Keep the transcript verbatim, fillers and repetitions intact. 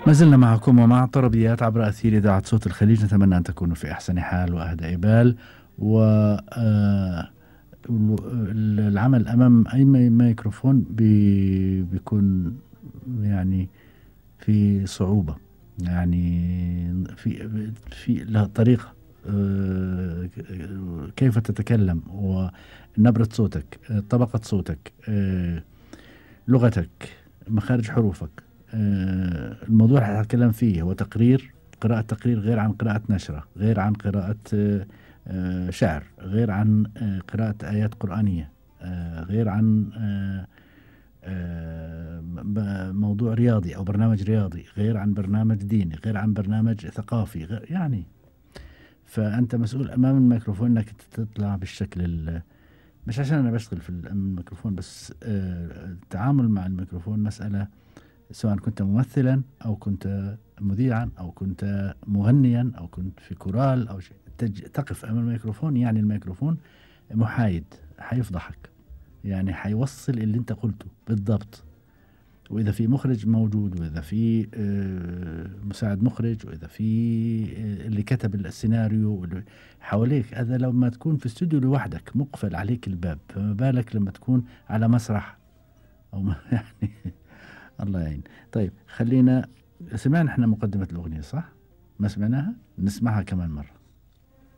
ما زلنا معكم ومع طربيات عبر أثير إذاعة صوت الخليج. نتمنى أن تكونوا في أحسن حال وأهدى بال، والعمل أمام أي ميكروفون بي بيكون يعني في صعوبة، يعني في في لها طريقة كيف تتكلم، ونبرة صوتك، طبقة صوتك، لغتك، مخارج حروفك. الموضوع اللي هتكلم فيه هو تقرير، قراءة تقرير غير عن قراءة نشرة، غير عن قراءة شعر، غير عن قراءة آيات قرآنية، غير عن موضوع رياضي أو برنامج رياضي، غير عن برنامج ديني، غير عن برنامج ثقافي، غير يعني. فأنت مسؤول أمام الميكروفون أنك تطلع بالشكل، مش عشان أنا بشتغل في الميكروفون بس، التعامل مع الميكروفون مسألة، سواء كنت ممثلا أو كنت مذيعا أو كنت مغنيا أو كنت في كورال أو شيء، تقف أمام الميكروفون، يعني الميكروفون محايد، حيفضحك، يعني حيوصل اللي انت قلته بالضبط. وإذا في مخرج موجود، وإذا في مساعد مخرج، وإذا في اللي كتب السيناريو حواليك، هذا لما تكون في استوديو لوحدك مقفل عليك الباب، فما بالك لما تكون على مسرح أو يعني الله يعين. طيب خلينا، سمعنا احنا مقدمة الأغنية صح؟ ما سمعناها؟ نسمعها كمان مرة.